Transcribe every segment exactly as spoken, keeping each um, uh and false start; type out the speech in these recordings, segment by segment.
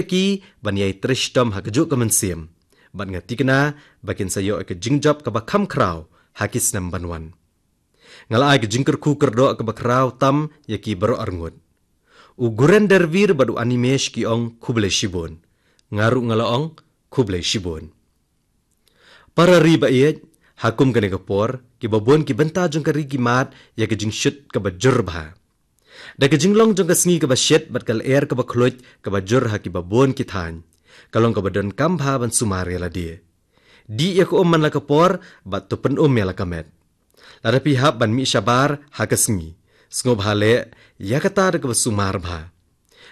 ki ban ïai trei shitom ha kajuh ka mynsiem. Bad nga tikna ba kin sa ïoh ïa ka jingjop kaba kham khraw ha ki snem ban wan. Nga la ai ka jingkyrkhu kyrdoh kaba khraw tam ïa ki baroh arngut. U Guren Dervir bad u Animesh ki ong khublei shibun. Nga ruh nga la ong khublei shibun. Para ri ba ïeit, ha kum kane ka por, kiba bun ki bynta jong ka ri ki mad ïa ka jingshit kaba jur bha. Da ka jinglong jong ka sngi kaba shit bad ka lyer kaba khluit kaba jur ha kiba bun ki thaiñ, ka long kaba donkam bha ban sumar ïa lade. Dih ïa ka um man la ka por bad to pynum ïa la ka met. Lada phi hap ban mih shabar ha ka sngi, sngewbha leh ïa kata da kaba sumar bha.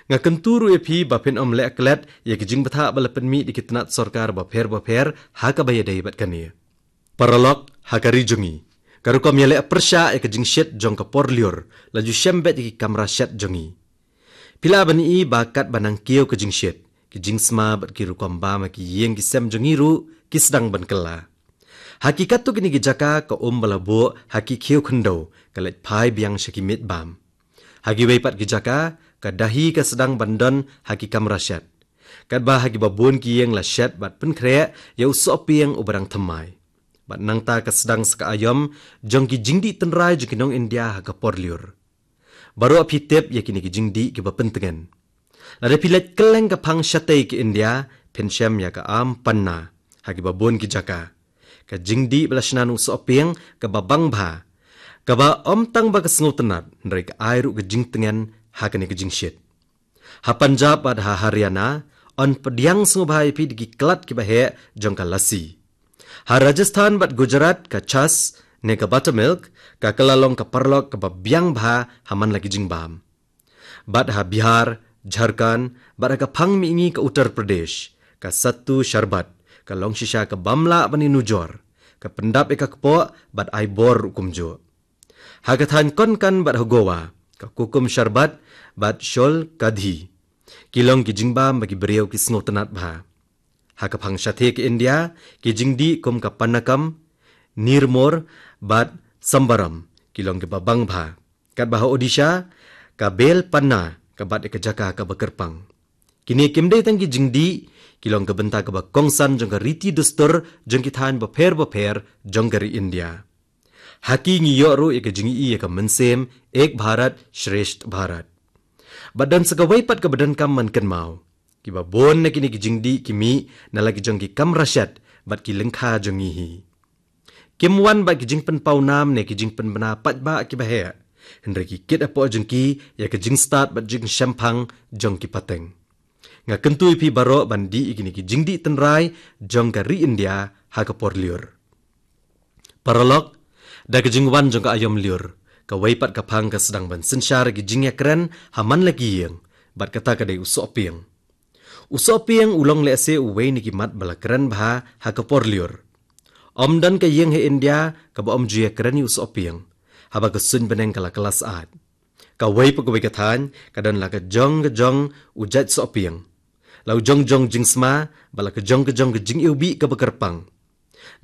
Nga kyntu ruh ïa phi ba phin ym leh klet ïa ki jingbthah ba la pynmih da ki tnat sorkar bapher bapher ha kaba ïadei bad kane. Paralok, ha ka ri jong ngi, ka rukom ïaleh pyrshah ïa ka jingshit jong ka por lyiur la ju shem beit ïa ki kamra shet jong ngi. Phi lah ban ïohi ba katba nang kiew ka jingshit, ki jingsma bad ki rukom bam ha ki ïing ki sem jong ngi ruh ki sdang ban kylla. Ha ki katto katne ki jaka ka um ba la buh ha ki khiew khyndew ka leit phai biang sha ki miej bam. Ha kiwei pat ki jaka, ka dahi ka sdang ban don ha ki kamra shet. Katba ha kiba bun ki ïing la shet bad pynkhreh ïa u sohpieng uba dang thymmai. Bad nangta ka sdang sa ka aïom jong ki jingdih tynrai jong ki nong India ha ka por lyiur. Baroh phi tip ïa kine ki jingdih kiba pyntngen. Lada phi leit kylleng ka phang shatei ka India, phin shem ïa ka Aam Panna ha kiba bun ki jaka. Ka jingdih ba la shna na u sohpieng kaba bang bha, kaba ym tang ba ka sngewtynnat, hynrei ka ai ruh ka jingtngen ha kane ka jingshit. Ha Punjab bad ha Haryana, yn pdiang sngewbha ïa phi da ki klat kiba heh jong ka lassi. Ha Rajasthan bad Gujarat, ka chas ne ka buttermilk ka kylla long ka paralok kaba biang bha ha man la ki jingbam. Bad ha Bihar, Jharkhand, bad ha ka phang mihngi ka Uttar Pradesh, ka sattu sharbat ka long shisha ka bym lah ban ïanujor, ka pyndap ïa ka kpoh bad ai bor ruh kumjuh. Ha ka thaiñ Konkan bad ha Goa, ka kukum sharbat bad shol kadhi ki long ki jingbam ba ki briew ki sngewtynnat bha. Ha ka phang shathie ka India, ki jingdih kum ka panakam, nirmor bad sambaram ki long kiba bang bha. Katba ha Odisha, ka bel panna ka bat ïa ka jaka kaba kyrpang. Kine kim dei tang ki jingdih, ki long ka bynta kaba kongsan jong ka riti dustur jong ki thaiñ bapher bapher jong ka ri India. Ha ki ngi ïoh ruh ïa ka jingïohi ïa ka mynsiem Ek Bharat Shreshtha Bharat. Bad don sa kawei pat kaba donkam ban kynmaw. Kiba bun na kine ki jingdih ki mih na la ki jong ki kamra shet bad ki lyngkha jong ngi hi. Kim wan bad ki jingpynpaw nam ne ki jingpynbna paidbah kiba heh, hynrei ki kit hapoh jong ki ïa ka jingstad bad jingshemphang jong ki pateng. Nga kyntu ïa phi baroh ban dih ïa kine ki jingdih tynrai jong ka ri India ha ka por lyiur. Paralok, da ka jingwan jong ka aïom lyiur, kawei pat ka phang ka sdang ban synshar ïa ki jingïakren ha man la ki ïing, bad kata ka dei u sohpieng. U sohpieng u long lehse uwei na ki mat ba la kren bha ha ka por lyiur. Ym don ka ïing ha India kaba ym ju ïakren ïa u sohpieng, haba ka suiñ bneng ka la kylla syaid. Kawei pa kawei ka thaiñ ka don la ka jong ka jong u jait sohpieng, la u jong jong jingsma bad la ka jong ka jong ka jingiwbih kaba kyrpang.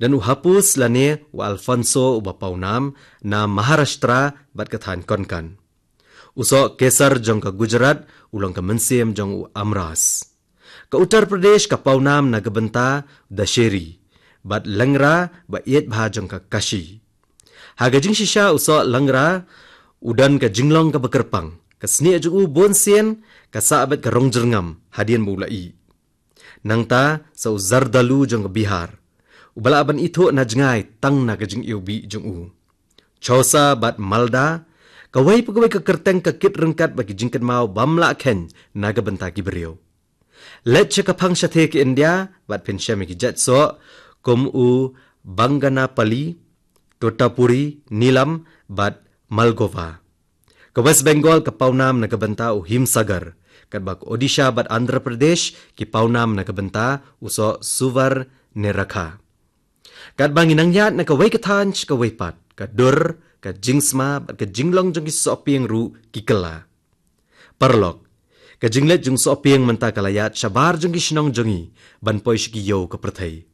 Don u hapus lane u Alfonso uba pawnam na Maharashtra bad ka thaiñ Konkan. U soh kesar jong ka Gujarat u long ka mynsiem jong u Amras. Ka Uttar Pradesh ka pawnam na ka bynta Dasheri bad Langra ba ïeit bha jong ka Kashi. Ha ka jingshisha u soh Langra u don ka jinglong kaba kyrpang, ka snieh jong u bunsien ka sah beit ka rong jyrngam hadien ba u la ih. Nangta sa u Zardalu jong ka Bihar, uba lah ban ithuh na jngai tang na ka jingiwbih jong u. Chausa bad Malda, kawei pa kawei ka kyrteng ka kit ryngkat bad ki jingkynmaw bym lah kheiñ na ka bynta ki briew. Leit sha ka phang shathie ka India bad phin shem ïa ki jait soh kum u Banganapali, Totapuri, Neelam bad Malgova. Ka West Bengal ka pawnam na ka bynta u Himsagar, katba ka Odisha bad Andhra Pradesh ki pawnam na ka bynta u soh Suvarnarekha. Katba ngi nang ïaid na kawei ka thaiñ sha kawei pat, ka dur, ka jingsma bad ka jinglong jong ki sohpieng ruh ki kylla. Paralok, ka jingleit jong u sohpieng mynta ka la ïaid shabar jong ki shnong jong ngi ban poi sha ki ïew ka pyrthei.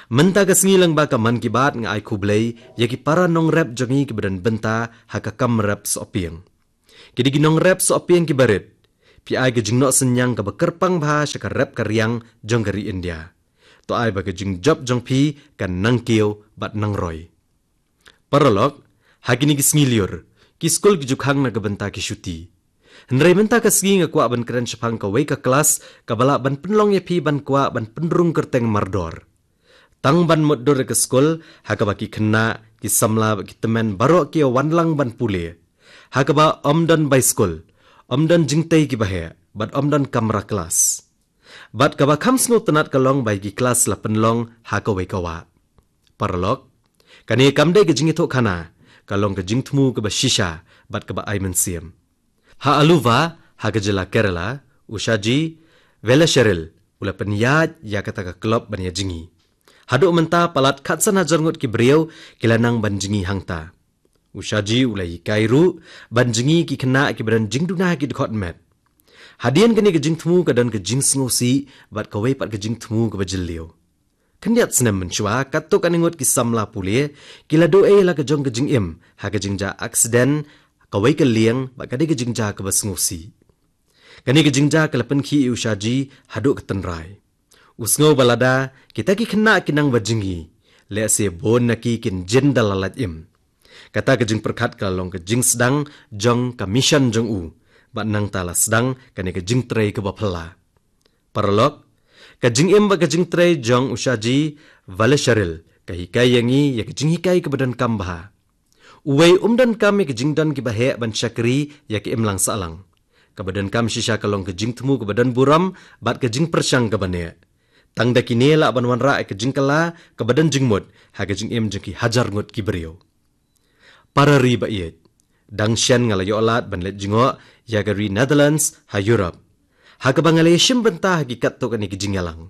Mynta ka sngi lyngba ka Mann Ki Baat nga ai khublei ïa ki para nongrep jong ngi kiba don bynta ha ka kam rep sohpieng. Ki dei ki nongrep sohpieng kiba rit. Phi ai ka jingnoh synñiang kaba kyrpang bha sha ka rep ka riang jong ka ri India. To ai ba ka jingjop jong phi kan nang kiew bad nang roi. Paralok, ha kine ki sngi lyiur, ki skul ki ju khang na ka bynta ki shuti. Hynrei mynta ka sngi nga kwah ban kren shaphang kawei ka klas kaba lah ban pynlong ïa phi ban kwah ban pynrung kyrteng mardor. Tang ban mutdur ïa ka skul, ha kaba ki khynnah, ki samla bad ki tymmen baroh ki ïa wan lang ban pule. Ha kaba ym don baiskul, ym don jingtei kiba heh, bad ym don kamra klas. Bad kaba kham sngewtynnat ka long ba ïa ki klas la pynlong ha kawei ka wah. Paralok, kane kam dei ka jingïathuhkhana, ka long ka jingthmu kaba shisha bad kaba ai mynsiem. Ha Aluva, ha ka jylla Kerala, u Shaji Velasheril u la pynïaid ïa kata ka club ban ïa jngi. Haduh mynta palat khatsan hajar ngut ki briew ki la nang ban jngi hangta. U Shaji u la hikai ruh ban jngi ki khynnah kiba don jingduna ha ki dkhot met. Hadien kane ka jingthmu ka don ka jingsngewsih bad kawei pat ka jingthmu kaba jylliew. Khyndiat snem mynshuwa, katto katne ngut ki samla pule ki la duh ei la ka jong ka jingim ha ka jingjia aksiden, kawei ka lieng bad ka dei ka jingjia kaba sngewsih. Kane ka jingjia ka la pynkhih ïa u Shaji haduh ka tynrai. U sngew ba lada kita ki khynnah ki nang ba jngi, lehse bun na ki kin jin da la lait im. Kata ka jingpyrkhat ka la long ka jingsdang jong ka mission jong u, bad nangta la sdang kane ka jingtrei kaba phylla. Paralok, ka jingim bad ka jingtrei jong u Shaji Velasheril ka hikai ïa ngi ïa ka jinghikai kaba donkam bha. Uwei um donkam ïa ka jingdon kiba heh ban shakri ïa ka imlang sahlang. Kaba donkam shisha ka long ka jingthmu kaba don burom bad ka jingpyrshang kaba neh. Tang da kine lah ban wanrah ïa ka jingkylla kaba don jingmut ha ka jingim jong ki hajar ngut ki briew. Para ri ba ïeit, dang shen nga la ïoh lad ban leit jngoh ïa ka ri Netherlands ha Europe, ha kaba nga la ïashim bynta ha ki katto katne ki jingïalang.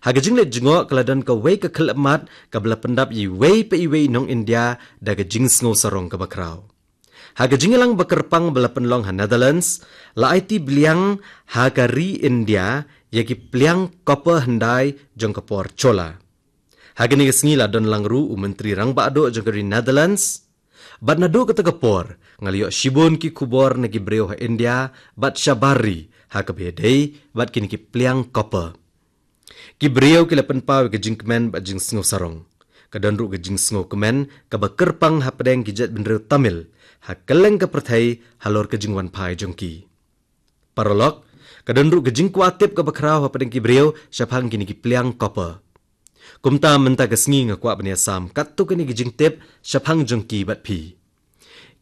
Ha ka jingleit jngoh ka la don kawei ka khyllipmat kaba la pyndap ïa iwei pa iwei i nong India da ka jingsngewsarong kaba khraw. Ha ka jingïalang ba kyrpang ba la pynlong ha Netherlands, la aiti bliang ha ka ri India ïa ki pliang copper hyndai jong ka por Chola. Ha kane ka sngi la don lang ruh u Myntri Rangbah Duh jong ka ri Netherlands. Bad naduh kata ka por nga la ïoh shibun ki khubor na ki briew ha India bad shabar ri ha kaba ïadei bad kine ki pliang copper. Ki briew ki la pynpaw ïa ka jingkmen bad jingsngewsarong. Ka don ruh ka jingsngewkmen kaba kyrpang hapdeng ki jaitbynriew Tamil ha kylleng ka pyrthei halor ka jingwanphai jong ki. Paralok, ka don ruh ka jingkwah tip kaba khraw hapdeng ki briew shaphang kine ki pliang copper. Kumta mynta ka sngi nga kwah ban ïasam katto katne ki jingtip shaphang jong ki bad phi.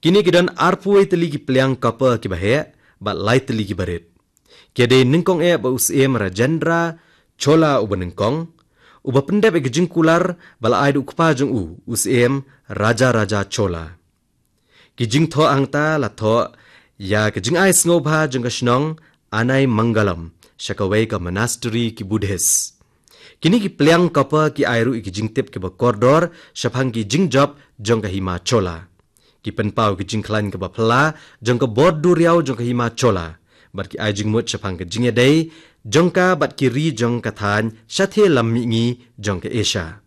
Kine ki don arphew tylli ki pliang copper kiba heh bad lai tylli kiba rit. Ki dei nyngkong eh bad u Syiem Rajendra Chola uba nyngkong, uba pyndep ïa ka jingkular ba la ai da u kpa jong u, u Syiem Rajaraja Chola. Ki jingthoh hangta la thoh ïa ka jingai sngewbha jong ka shnong Anaimangalam sha kawei ka monastery ki Buddhist. Kine ki pliang copper ki ai ruh ïa ki jingtip kiba kordor shaphang ki jingjop jong ka Hima Chola. Ki pynpaw ïa ka jingkhlaiñ kaba phylla jong ka bor duriaw jong ka Hima Chola, bad ki ai jingmut shaphang ka jingïadei jong ka bad ki ri jong ka thaiñ shatei lam mihngi jong ka Asia.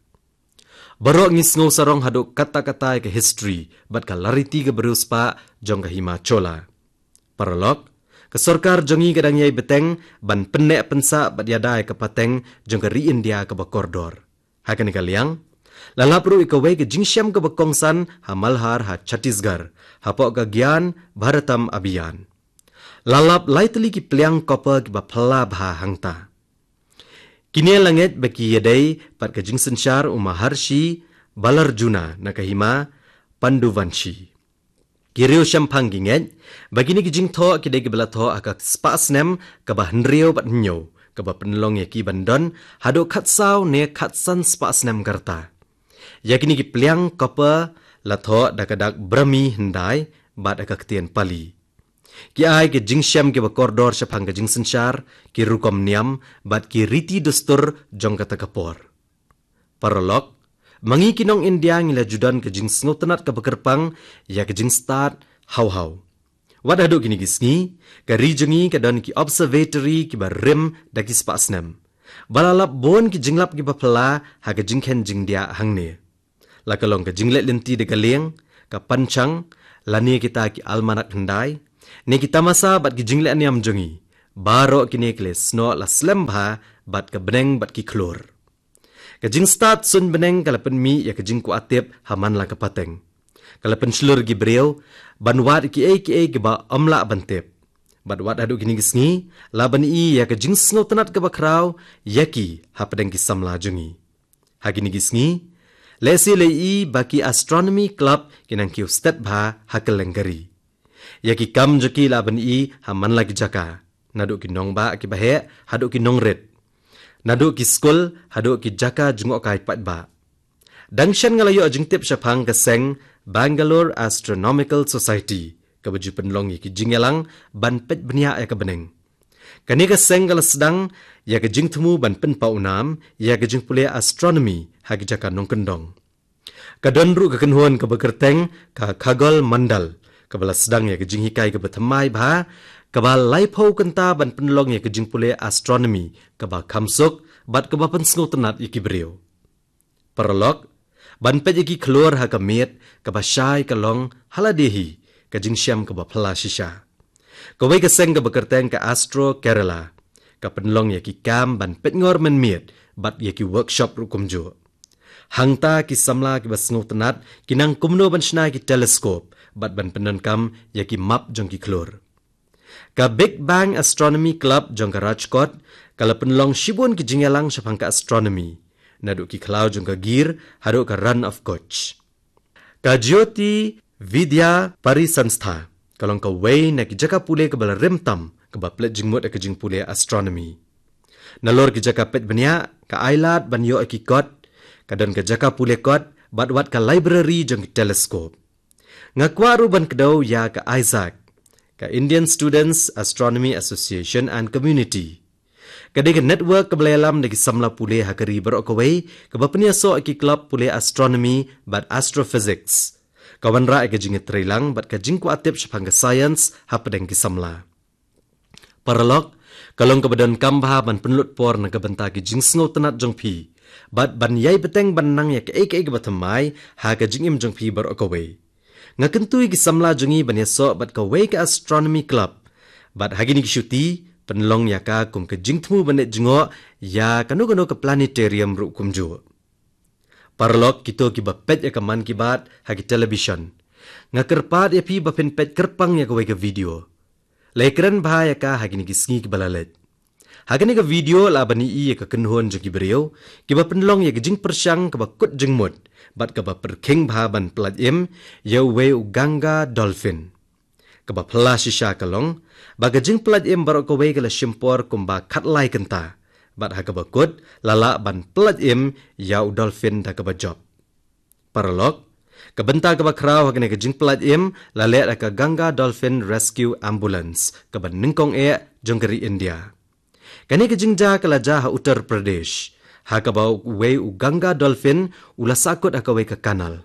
Baroh ngi sngewsarong haduh katta katta ïa ka history bad ka lariti kaba riewspah jong ka Hima Chola. Paralok, ka sorkar jong ngi ka dang ïai bteng ban pynneh pynsah bad ïada ïa ka pateng jong ka ri India kaba kordor. Ha kane ka liang, la lap ruh ïa kawei ka jingshem kaba kongsan ha Malhar ha Chhattisgarh, hapoh ka Gyan Bharatam Abhiyan. La lap lai tylli ki pliang copper kiba phylla bha hangta. Kine la ngeit ba ki ïadei bad ka jingsynshar u Maharshi Balarjuna na ka Hima Panduvanshi. Ki riewshemphang ki ngeit ba kine ki jingthoh ki dei kiba la thoh ha ka spah snem kaba hynriew bad hynñiew, kaba pynlong ïa ki ban don haduh khatsaw ne khatsan spah snem ka rta. Ïa kine ki pliang copper la thoh da ka dak Brahmi hyndai bad ha ka ktien Pali. Ki ai ki jingshem kiba kordor shaphang ka jingsynshar, ki rukom niam bad ki riti dustur jong kata ka por. Paralok, ma ngi ki nong India ngi la ju don ka jingsngewtynnat kaba kyrpang ïa ka jingstad haw haw. Wat haduh kine ki sngi, ka ri jong ngi ka don ki observatory kiba rim da ki spah snem, ba la lap bun ki jinglap kiba phylla ha ka jingkhein jingdiah hangne. La ka long ka jingleh lynti da ka lieng, ka panchang, lane kita ki almanak hyndai, ne ki tamasa bad ki jingleh niam jong ngi, Baroh kine ki leh snoh la slem bha bad ka bneng bad ki khlur. Ka jingstad suiñ bneng ka la pynmih ïa ka jingkwah tip ha man la ka pateng. Ka la pynshlur ïa ki briew ban wad ïa kiei kiei kiba ym lah ban tip. Bad wat haduh kine ki sngi la ban ïohi ïa ka jingsngewtynnat kaba khraw ïa ki hapdeng ki samla jong ngi. Ha kine ki sngi, lehse la ïohi ba ki Astronomy Club ki nang kiew stet bha ha kylleng ka ri. Ïa ki kam jong ki la ban ïohi ha man la ki jaka, naduh ki nongbah kiba heh haduh ki nongrit, naduh ki skul haduh ki jaka jngohkai paidbah. Dang shen nga la ïoh jingtip shaphang ka seng Bangalore Astronomical Society kaba ju pynlong ïa ki jingïalang ban peit bniah ïa ka bneng. Kane ka seng ka la sdang ïa ka jingthmu ban pynpaw nam ïa ka jingpule astronomi ha ki jaka nongkyndong. Ka don ruh ka kynhun kaba kyrteng ka Khagol Mandal, kaba la sdang ïa ka jinghikai kaba thymmai bha, kaba laiphew kynta ban pynlong ïa ka jingpule astronomi kaba kham suk bad kaba pynsngewtynnat ïa ki briew. Paralok, ban peit ïa ki khlur ha ka miet kaba shai ka long ha lade hi ka jingshem kaba phylla shisha. Kawei ka seng kaba kyrteng ka Astro Kerala ka pynlong ïa ki kam ban peit ngor mynmiet bad ïa ki workshop ruh kumjuh. Hangta ki samla kiba sngewtynnat ki nang kumno ban shna ïa ki teleskop bad ban pyndonkam ïa ki map jong ki khlur. Ka Big Bang Astronomy Club jong ka Rajkot ka la pynlong shibun ki jingïalang shaphang ka astronomi, naduh ki khlaw jong ka Gir haduh ka Rann of Kutch. Ka Jyoti Vidya Parisanstha ka long kawei na ki jaka pule kaba la rim tam kaba plet jingmut ïa ka jingpule astronomi. Nalor ki jaka peit bniah, ka ailad ban ïoh ïa ki kot, ka don ka jaka pule kot bad wat ka library jong ki teleskop. Nga kwah ruh ban kdew ïa ka ISAAC, ka Indian Students Astronomy Association and Community. Ka dei ka network kaba la ïalam da ki samla pule ha ka ri baroh kawei kaba pynïasoh ïa ki club pule astronomi bad astrophysics, ka wanrah ïa ka jingïatreilang bad ka jingkwah tip shaphang ka science hapdeng ki samla. Paralok, ka long kaba donkam bha ban pynlut por na ka bynta ki jingsngewtynnat jong phi bad ban ïai bteng ban nang ïa kaei kaei kaba thymmai ha ka jingim jong phi baroh kawei. Nga kyntu ïa ki samla jong ngi ban ïasoh bad kawei ka astronomy club bad ha kine ki shuti pynlong ïa ka kum ka jingthmu ban leit jngoh ïa kano kano ka planetarium ruh kumjuh. Paralok, kito kiba peit ïa ka Mann Ki Baat ha ki television, nga kyrpad ïa phi ba phin peit kyrpang ïa kawei ka video. La ïakren bha ïa ka ha kine ki sngi kiba la leit. Ha kane ka video la ban ïohi ïa ka kynhun jong ki briew kiba pynlong ïa ka jingpyrshang kaba kut jingmut bad kaba pyrkhing bha ban pyllait im ïa uwei u Ganga dolphin. Kaba phylla shisha ka long ba ka jingpyllait im baroh kawei ka la shim por kumba khatlai kynta, bad ha kaba kut la lah ban pyllait im ïa u dolphin da kaba jop. Paralok, ka bynta kaba khraw ha kane ka jingpyllait im la leh da ka Ganga Dolphin Rescue Ambulance kaba nyngkong eh jong ka ri India. Kane ka jingjia ka la jia ha Uttar Pradesh, ha kaba uwei u Ganga dolphin u la sahkut ha kawei ka kanal.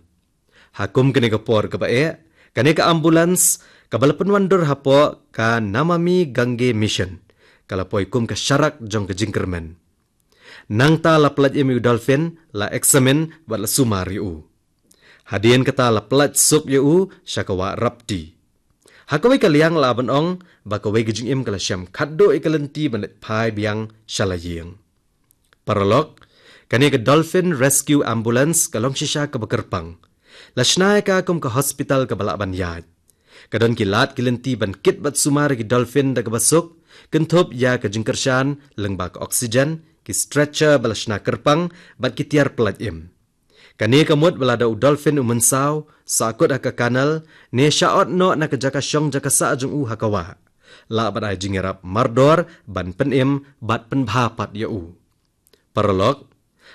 Ha kum kane ka por kaba eh, kane ka ambulance kaba la pynwandur hapoh ka Namami Gange Mission ka la poi kum ka sharak jong ka jingkyrmen. Nangta la pyllait im ïa u dolphin, la eksamin bad la sumar ïa u. Hadien kata la pyllait suk ïa u sha ka wah Rapti. Ha kawei ka liang la ban ong ba kawei ka jingim ka la shem khatduh ïa ka lynti ban leit phai biang sha la ïing. Paralok, kane ka Dolphin Rescue Ambulance ka long shisha kaba kyrpang. La shna ïa ka kum ka hospital kaba lah ban ïaid. Ka don ki lad ki lynti ban kit bad sumar ïa ki dolphin da kaba suk, kynthup ïa ka jingkyrshan lyngba ka oxygen, ki stretcher ba la shna kyrpang bad ki tiar pyllait im. Kane ka mut ba lada u dolphin u mynsaw, sahkut ha ka kanal, ne shah ot noh na ka jaka shong jaka sah jong u ha ka wah, lah ban ai jingïarap mardor ban pynim bad pynbha pat ïa u. Paralok,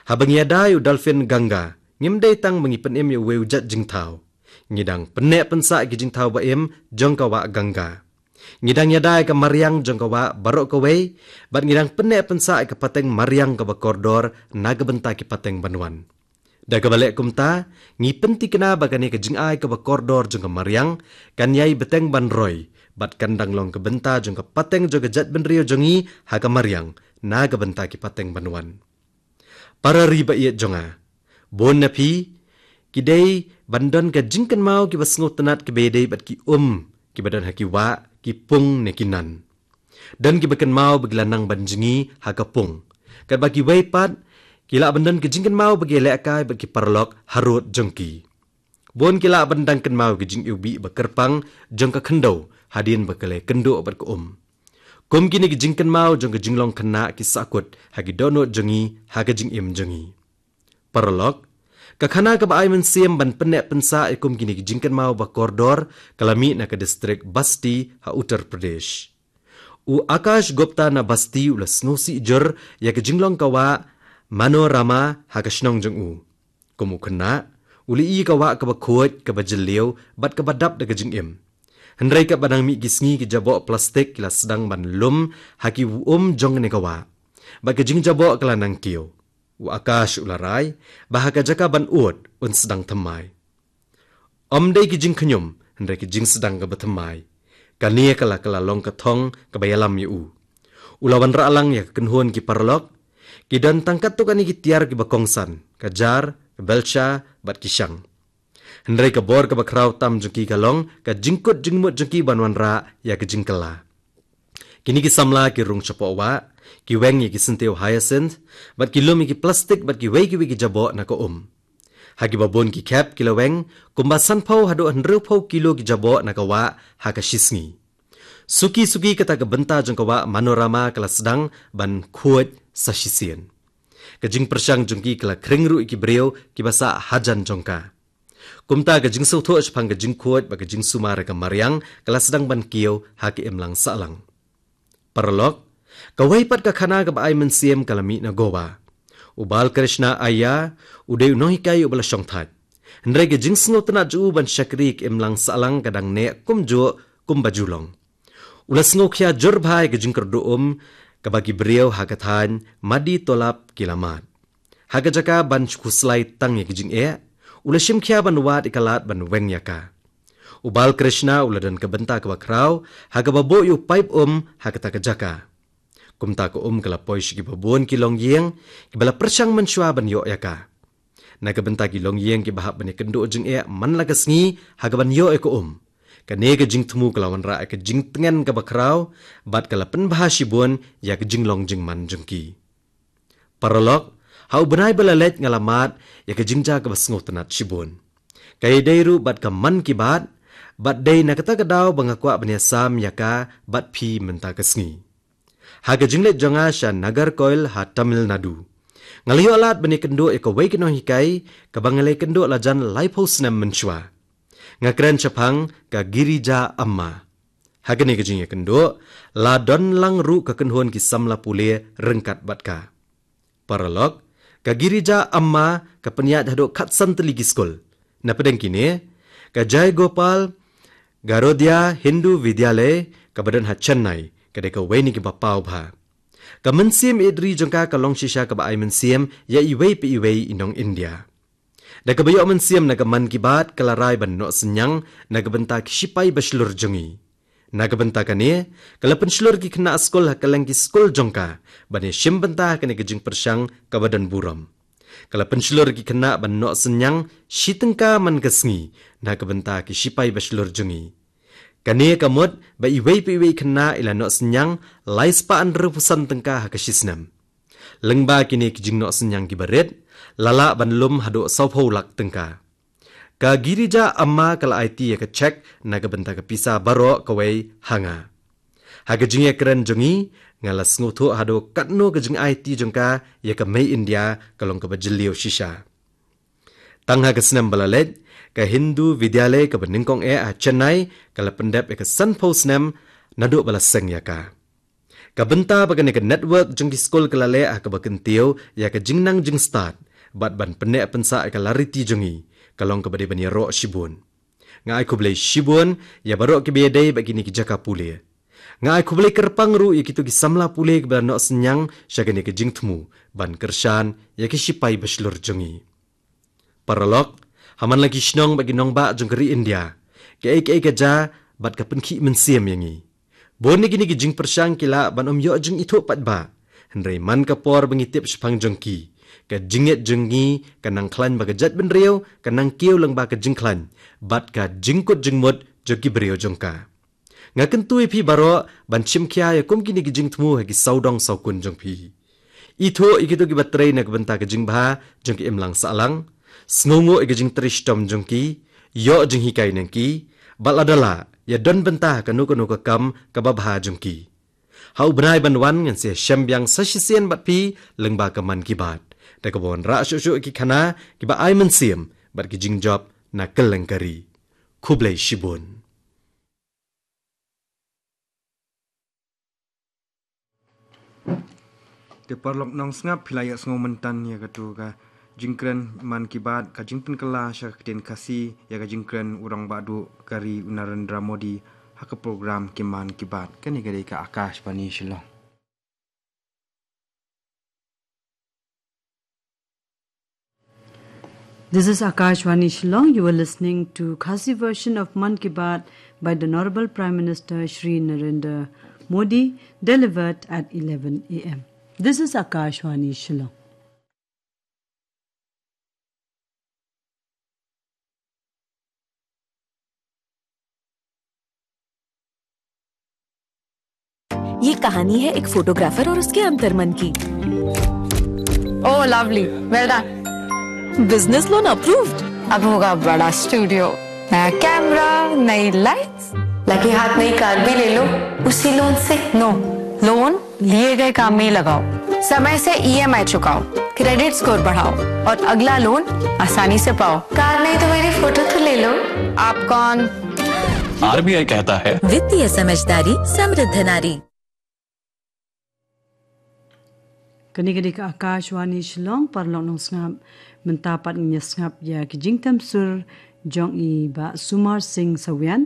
haba ngi ïada ïa u dolphin Ganga, ngim dei tang ba ngi pynim ïa uwei u jait jingthaw. Ngi dang pynneh pynsah ïa ki jingthaw ba im jong ka wah Ganga. Ngi dang ïada ïa ka mariang jong ka wah baroh kawei, bad ngi dang pynneh pynsah ïa ka pateng mariang kaba kordor na ka bynta ki pateng ban wan. Da kaba leh kumta, ngi pynthikna ba kane ka jingai kaba kordor jong ka mariang kan ïai bteng ban roi, bad kan dang long ka bynta jong ka pateng jong ka jaitbynriew jong ngi ha ka mariang na ka bynta ki pateng ban wan. Para ri ba ïeit jong nga, bun na phi ki dei ban don ka jingkynmaw kiba sngewtynnat kiba ïadei bad ki um kiba don ha ki wah, ki pung ne ki nan. Don kiba kynmaw ba ki la nang ban jngi ha ka pung, katba kiwei pat ki lah ban don ka jingkynmaw ba ki lehkai bad ki paralok harud jong ki. Bun ki lah ban dang kynmaw ka jingiwbih ba kyrpang jong ka khyndew hadien ba ka la ïakynduh bad ka um. Kum kine ki jingkynmaw jong ka jinglong khynnah ki sahkut ha ki dohnud jong ngi, ha ka jingim jong ngi. Paralok, ka khana kaba ai mynsiem ban pynneh pynsah ïa kum kine ki jingkynmaw ba kordor ka la mih na ka distrik Basti ha Uttar Pradesh. U Akash Gupta na Basti u la sngewsih jur ïa ka jinglong ka wah Manorama ha ka shnong jong u. Kum u khynnah, u la ïohi ïa ka wah kaba khuid, kaba jylliew bad kaba dap da ka jingim. Hynrei katba nang mih ki sngi, ki jaboh plastik ki la sdang ban lum ha ki um jong kane ka wah, bad ka jingjaboh ka la nang kiew. U Akash u la rai ba ha ka jaka ban ud, un sdang thymmai. Ym dei ki jingkhñium, hynrei ki jingsdang kaba thymmai. Kane ka la, ka la long ka thong kaba ïalam ïa u. U la wanrah lang ïa ka kynhun ki paralok. Ki don tang katto katne ki tiar kiba kongsan, ka jar, ka belsha bad ki shang. Hynrei ka bor kaba khraw tam jong ki ka long ka jingkut jingmut jong ki ban wanrah ïa ka jingkylla. Kine ki samla ki rung shapoh wah, ki weng ïa ki syntiew hyacinth, bad ki lum ïa ki plastik bad kiwei kiwei ki jaboh na ka um. Ha kiba bun ki khep ki la weng kumba sanphew haduh hynriewphew kilo ki jaboh na ka wah ha ka shisngi. Suki suki, kata ka bynta jong ka wah Manorama ka la sdang ban khuid sa shisien. Ka jingpyrshang jong ki ka la khring ruh ïa ki briew kiba sah hajan jong ka. Kumta ka jingsngewthuh shaphang ka jingkhuid bad ka jingsumar ïa ka mariang ka la sdang ban kiew ha ka imlang sahlang. Paralok, kawei pat ka khana kaba ai mynsiem ka la mih na Goa. U Balkrishna Aiya u dei u nonghikai uba la shongthait. Hynrei ka jingsngewtynnat jong u ban shakri ha ka imlang sahlang ka dang neh kumjuh kumba ju long. U la sngewkhia jur bha ïa ka jingkyrduh um kaba ki briew ha ka thaiñ Madi Tolap ki la mad. Ha ka jaka ban khuslai tang ïa ka jingeh, u la shim khia ban wad ïa ka lad ban weng ïa ka. U Balkrishna u la don ka bynta kaba khraw ha kaba buh ïa u paip um ha kata ka jaka. Kumta ka um ka la poi sha kiba bun ki longïing kiba la pyrshang mynshuwa ban ïoh ïa ka. Na ka bynta ki longïing kiba hap ban ïakynduh jingeh man la ka sngi ha kaban ïoh ïa ka um, kane ka jingthmu ka la wanrah ïa ka jingtngen kaba khraw bad ka la pynbha shibun ïa ka jinglong jingman jong ki. Paralok, ha u bnai ba la leit nga la mad ïa ka jingjia kaba sngewtynnat shibun. Ka ïadei ruh bad ka Mann Ki Baat, bad dei na kata ka daw ba nga kwah ban ïasam ïa ka bad phi mynta ka sngi. Ha ka jingleit jong nga sha Nagercoil ha Tamil Nadu, nga la ïoh lad ban ïakynduh ïa kawei ka nonghikai kaba nga la ïakynduh la jan laiphew snem mynshuwa. Nga kren shaphang ka Girija Amma. Ha kane ka jingïakynduh la don lang ruh ka kynhun ki samla pule ryngkat bad ka. Paralok, ka Girija Amma ka pynïaid haduh khatsan tylli ki skul. Na pdeng kine, ka Jai Gopal Garodia Hindu Vidyalay kaba don ha Chennai ka dei kawei na kiba paw bha. Ka mynsiem ïeit ri jong ka ka long shisha kaba ai mynsiem ïa iwei pa iwei i nong India. Da kaba ïoh mynsiem na ka Mann Ki Baat ka la rai ban noh synñiang na ka bynta ki shipai ba shlur jong ngi. Na ka bynta kane, ka la pynshlur ki khynnah skul ha kylleng ki skul jong ka ban ïashim bynta ha kane ka jingpyrshang kaba don burom. Ka la pynshlur ki khynnah ban noh synñiang shi tyngka man ka sngi na ka bynta ki shipai ba shlur jong ngi. Kane ka mut ba iwei pa iwei i khynnah i la noh synñiang lai spah hynriewphew san tyngka ha ka shisnem. Lyngba kine ki jingnoh synñiang kiba rit, la lah ban lum haduh sawphew lak tyngka. Ka Girija Amma ka la aiti ïa ka cheque na ka bynta ka pisa baroh kawei ha nga. Ha ka jingïakren jong ngi, nga la sngewthuh haduh katno ka jingaiti jong ka ïa ka mei India ka long kaba jylliew shisha. Tang ha ka snem ba la leit, ka Hindu Vidyalay kaba nyngkong eh ha Chennai ka la pyndep ïa ka sanphew snem naduh ba la seng ïa ka. Ka bynta ba kane ka network jong ki skul ka la leh ha kaba kyntiew ïa ka jingnang jingstad bad ban pynneh pynsah ïa ka lariti jong ngi, ka long kaba dei ban ïaroh shibun. Nga ai khublei shibun ïa baroh kiba ïadei bad kine ki jaka pule. Nga ai khublei kyrpang ruh ïa kito ki samla pule kiba la noh synñiang sha kane ka jingthmu ban kyrshan ïa ki shipai ba shlur jong ngi. Paralok, ha man la ki shnong bad ki nongbah jong ka ri India, kaei kaei ka jia bad ka pynkhih mynsiem ïa ngi. Bun na kine ki jingpyrshang ki lah ban ym ïoh jingithuh paidbah, hynrei man ka por ba ngi tip shaphang jong ki, ka jingngeit jong ngi ka nang khlaiñ ba ka jaitbynriew ka nang kiew lyngba ka jingkhlaiñ bad ka jingkut jingmut jong ki briew jong ka. Nga kyntu ïa phi baroh ban shim khia ïa kum kine ki jingthmu ha ki sawdong sawkun jong phi. Ithuh ïa kito kiba trei na ka bynta ka jingbha jong ka imlang sahlang. Sngewnguh ïa ka jingtrei shitom jong ki, ïoh jinghikai na ki, bad lada lah, ïa don bynta ha kano kano ka kam kaba bha jong ki. Ha u bnai ban wan ngan sa shem biang sa shisien bad phi lyngba ka Mann Ki Baat. Da kaba wanrah shuh shuh ïa ki khana kiba ai mynsiem bad ki jingjop na kylleng ka ri. Khublei shibun. Te paralok nongsngap, phi la ïohsngew mynta ïa kato ka jingkren Mann Ki Baat, ka jingpynkylla sha ka ktien Khasi ïa ka jingkren u rangbah duh ka ri u Narendra Modi ha ka program ki Mann Ki Baat. Kane ka dei ka Akashvani Shillong. This is Akashvani Shillong. You are listening to Khasi version of Mann Ki Baat by the Honorable Prime Minister Shri Narendra Modi, delivered at eleven a m. This is Akashvani Shillong. ये कहानी है एक फोटोग्राफर और उसके अंतर्मन की। Oh, lovely. Well done. बिजनेस लोन अप्रूव्ड। अब होगा बड़ा स्टूडियो, नया कैमरा, नई लाइट्स। लगे हाथ नई कार भी ले लो उसी लोन से। नो, लोन लिए गए काम में ही लगाओ, समय से ईएमआई चुकाओ, क्रेडिट स्कोर बढ़ाओ और अगला लोन आसानी से पाओ। कार नहीं तो मेरी फोटो तो ले लो। आप कौन? आरबीआई कहता है, वित्तीय समझदारी समृद्ध नारी। Kane ka dei ka Akashvani Shillong, paralok nongsngap, mynta pat ngin ïa sngap ïa ki jingtem sur jong i Bah Sumar Singh Sawian,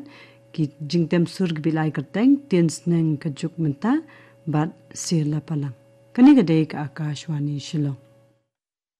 ki jingtem sur kiba la ai kyrteng Tien Sneng Ka Juk Mynta bad Sir Lapalang. Kane ka dei ka Akashvani Shillong.